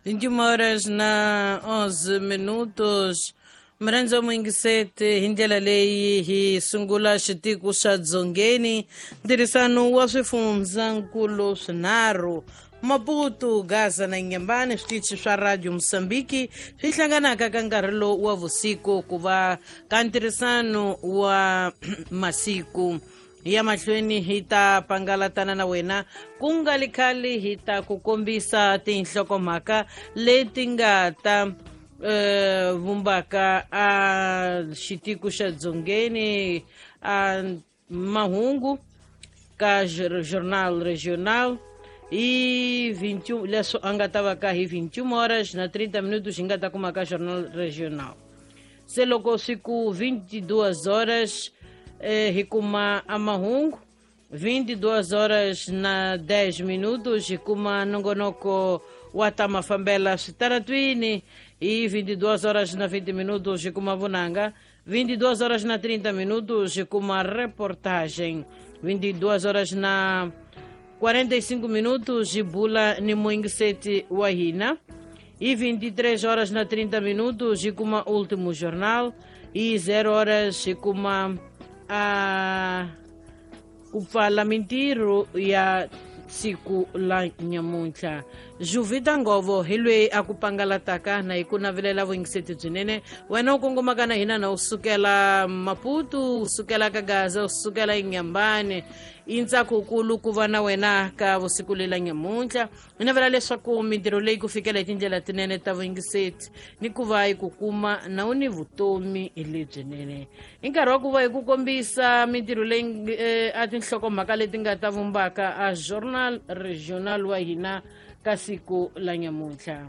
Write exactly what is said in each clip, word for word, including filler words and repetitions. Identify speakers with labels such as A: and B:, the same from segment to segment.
A: vinte e uma horas na onze minutos. Mrhandza muyingiseti hi ndlela leyi hi sungula xitiko xa Dzongeni, ntirhisano wa swifundzankulu swinharhu Maputo, Gaza na Inhambane, switichi swa Radio Moçambique swi hlanganaka ka nkarhi lowu wa vusiku ku va ka ntirhisano wa masiku ya mahlweni. Hi ta pangalatana na wena ku nga li khale, hi ta ku kombisa tinhlokomhaka leti nga ta eh, vumbaka a xitiko xa Dzongeni, a mahungu ka Jornal Regional e vinte e um, leswo a nga ta va ka hi vinte e uma horas na trinta minutos hi nga ta kuma ka Jornal Regional. Se loko swi ku vinte e duas horas eh, hi kuma a mahungu, vinte e duas horas na dez minutos hi kuma nongonoko wa ta mafambela switaratwini, e vinte e duas horas na vinte minutos hi kuma vunanga, vinte e duas horas na trinta minutos hi kuma reportagem, vinte e duas horas na quarenta e cinco minutos hi bula ni muyingiseti wa hina, e vinte e três horas na trinta minutos hi kuma último jornal, e zero horas hi kuma a ku pfala mintirho ya siku la nyamuntlha. Juvita Ngovo hi loyi a ku pangalataka na hi ku navelela vuyingiseti byinene. Wena u kongomaka na hina na u sukela Maputo, u sukela ka Gaza, u sukela Inhambane, i ntsakukulu ku va na wena ka vusiku lela nyamuntlha. Hi navela leswaku mintirho leyi ku fikela hi tindlela tinene ta vuyingiseti ni ku va hi ku kuma na u ni vutomi lebyinene. I nkarhi wa ku va hi ku kombisa mintirho leyi eh, a tinhlokomhaka leti nga ta vumbaka a Jornal Regional wa hina ka siku la nyamuntlha.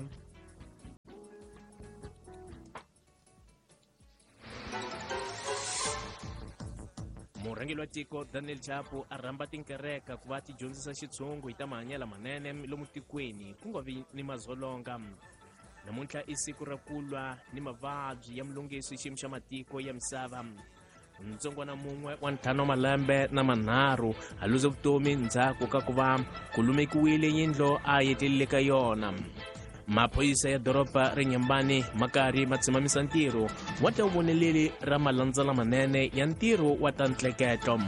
B: Murhangeri wa tiko Daniel Chapo a rhamba tinkereka ku va ti dyondzisa xitshungu hi ta mahanyelo manene lomu tikweni ku nga vi ni mazolonga. Namuntlha i siku ra ku lwa ni mavabyi ya mulunghisi xiyimo xa matiko ya misava. Ntsongwana mun'we wa ntlhanu wa malembe na manharhu a luze vutomi ndzhaku ka ku va ku lumekiwile yindlu a yetlelile ka yona. Maphorisa ya doroba ra Inhambane ma karhi ma tsimamisa ntirho wa ta voneleli ra malandza lamanene ya ntirho wa ta ntleketlo.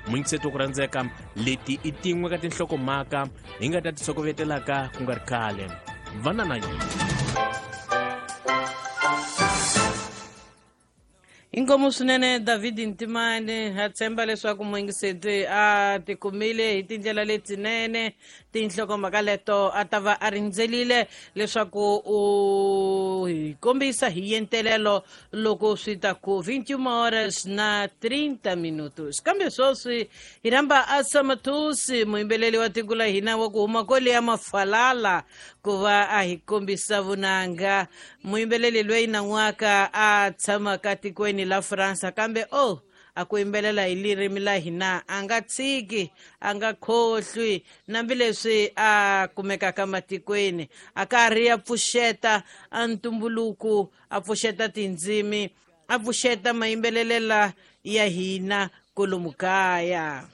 B: Muyingiseti wa ku rhandzeka, leti i tin'we ka tinhlokomhaka hi nga ta ti tshokovetelaka ku nga ri khale. Vana na yena.
A: Inkomu swinene David Ntimane, ha tshemba leswaku muyingiseti a tikumile hi tindlela letinene tinhlokomhaka leto a ta va a rindzelile leswaku u hi kombisa hi yentelelo loko swi ta ku vinte e uma horas na trinta minutos. Kambe sweswi hi rhamba Asa Matusi, muyimbeleli wa tiko la hina wa ku huma kwale ya Mafalala, ku va a hi kombisa vunanga. Muyimbeleli loyi nan'waka a tshamaka tikweni la Fransa, kambe oh a ku yimbelela hi ririmi la hina a nga tshiki, a nga khohlwi, nambileswi a kumekaka matikweni a karhi a pfuxeta a ntumbuluko, a pfuxeta tindzimi, a pfuxeta mayimbelelela ya hina kolomu kaya.